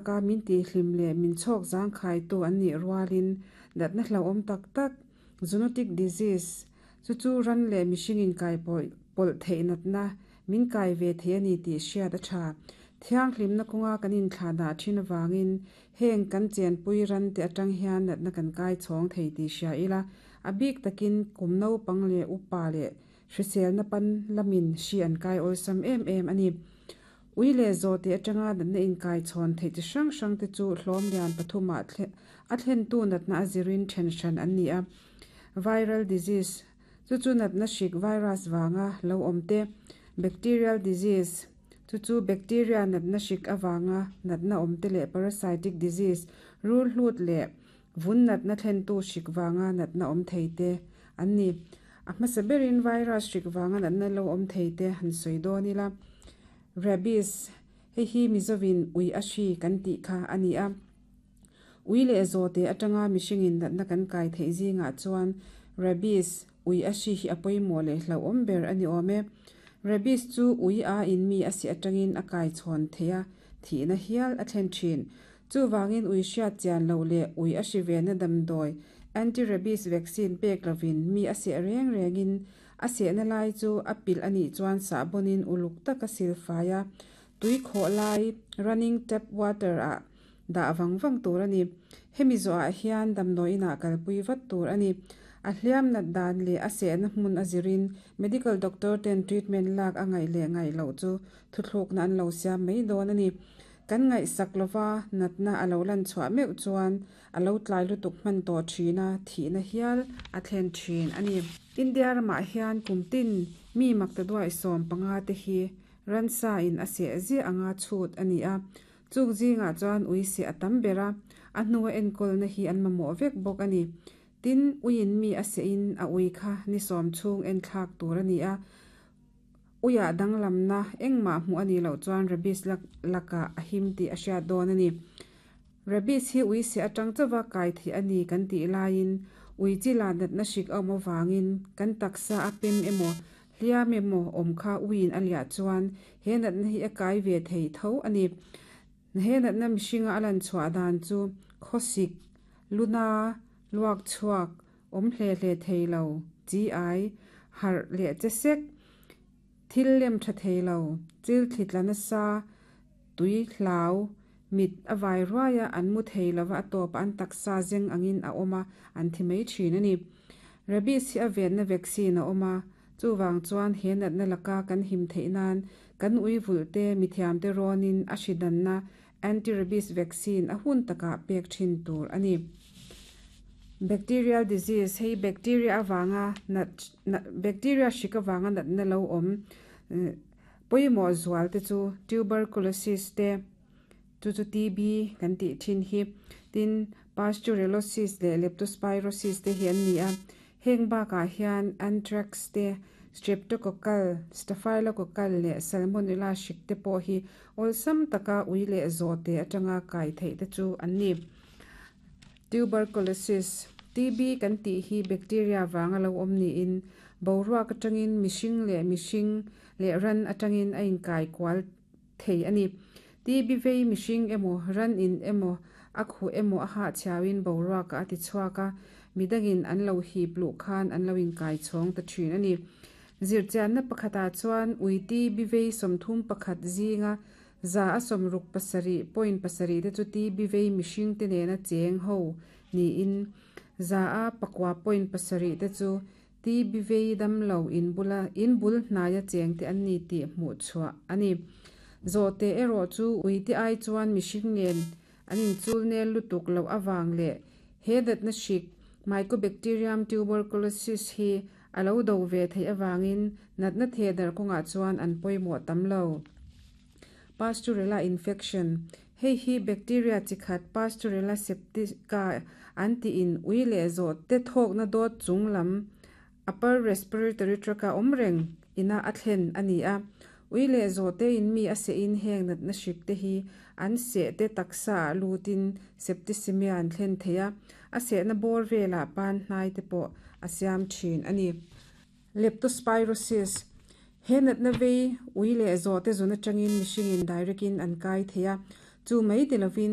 Taka min tihhlim leh min chhawk zangkhaitu an nih rualin natna hlauhawm tak tak, zoonotic disease, chu chu ran leh mihring inkai pawlh theih natna min kai ve thei a ni tih hriat a tha. Thianghlimna kawnga kan inthlahdah thin avangin heng kan chenpui ran te atang hian natna kan kai chhawng thei tih hria ila, a bik takin kum naupang leh upa leh hriselna pan lamin hri an kai awlsam em em a ni. Ui leh zawhte atanga natna inkaichhawn theih chi hrang hrangte chu hlawm lian pathumah a thlentu natna a zirin then hran an ni a. Viral disease, chu chu natna hrik virus vanga lo awm te, bacterial disease, chu chu bacteria natna hrik avanga natna awm te leh parasitic disease, rul hlut leh vun natna thlentu hrik vanga natna awm thei te an ni. A hmasa berin virus hrik vanga natna lo awm thei te han sawi dawn ila. Rabies, Hei hi Mizovin ui a hri kan tih kha a ni a. Ui leh zawhte atanga mihringin natna kan kai theih zingah chuan rabies, ui a hri hi a pawimawh leh hlauhawm ber a ni awm e. Rabies chu ui a in mi a sih atangin a kai chhawn theih a, thihna hial a thlen thin. Chuvangin ui hriat chian loh leh ui a hri vena damdawi, anti-rabies vaccine pek lovin mi a seh reng rengin A sehna lai chu a pilh a nih chuan sahbawnin uluk taka sil fai a, tui khawh lai, running tap water, ah dah vang vang tur a ni. Hemi zawhah hian damdawi inah kalpui vat tur a ni. A hliam nat dan leh a sehna hmun a zirin medical doctor ten treatment lak a ngaih leh ngaih loh chu thuthlukna an lo siam mai dawn a ni. Kan ngaihsak lova natna a lo lan chhuah meuh chuan A lo tlai lutuk hman tawh thin a, thihna hial a thlen thin a ni. India ramah hian kum tin mi maktaduai 15 te hi ransa in a seh ziah anga chhut a ni a. Chung zingah chuan ui seh a tam ber a, a hnua enkawlna hi an mamawh vek bawk a ni. Tin, uiin mi a sehin a ui kha ni sawm chhung enthlak tur a ni a. Uiah danglamna engmah hmuh a nih loh chuan rabies lakah a him tih a hriat dawn a ni. Rabies hi ui seh atang chauva kai theih a ni kan tih laiin ui chi lah natna hrik a awm avangin kan taksa a pem emaw hliam emaw awm kha uiin a liah chuan he natna hi a kai ve thei tho a ni. He natna mihringa a lan chhuah dan chu khawsik, luna, luak chhuak, awm hle hle thei lo, chi ai, harh leh che sek, thil lem tha thei lo, chil thli tla nasa, tui hlau, mit a vai ruai a, an mu thei lova a tawpah an taksa zeng angin a awm a, an thi mai thin a ni. Rabies hi a venna vaccine a awm a, chuvang chuan he natna laka kan him theih nan kan ui vulh te mithiamte rawnin a hri danna anti-rabies vaccine a hun takah pek thin tur a ni. Bacterial disease, hei bacteria avanga nat bacteria hrik avanga natna lo awm pawimawh zual te chu tuberculosis te, chu chu TB kan tih thin hi, tin pasteurellosis leh leptospirosis te hi an ni a. Heng bakah hian anthrax te, streptococcal, staphylococcal leh salmonella hrik te pawh hi awlsam taka ui leh zawhte atanga kai theih te chu an ni. Tuberculosis, TB kan tih hi bacteria vanga lo awm niin boruak atangin mihring leh mihring leh ran atangin a inkai kual thei a ni. TB vei mihring emaw, ran in emaw, a khuh emaw a hahchhiauin boruakah a ti chhuak a, midangin an lo hip luh khan an lo inkai chhawng ta thin a ni. Zirchianna pakhatah chuan ui TB vei 31 zinga 167.7 te chu TB vei mihringte nena cheng ho niin 9.7 te chu TB vei damlo inbula inbul hnaia chengte an ni tih hmuh chhuah a ni. Zawhte erawh chu uite ai chuan mihring nen an inchul nel lutuk loh avang leh he natna hrik Mycobacterium tuberculosis hi a lo do ve theih avangin natna thehdarh kawngah chuan an pawimawh tam lo. Pasteurella infection, Hei hi bacteria chi khat Pasteurella septica an tiin ui leh zawh te thawkna dawt chung lam upper respiratory tract a awm reng ina a thlen a ni a. Ui leh zawh te in mi a sehin heng natna hrik te hi an seh te taksa ah lutin septicemia an thlen thei a, a sehna bawr velah pan hnai te pawh a siam thin a ni. Leptospirosis, He natna vei ui leh zawhte zun atangin mihringin direct in an kai thei a. Chu mai ni lovin.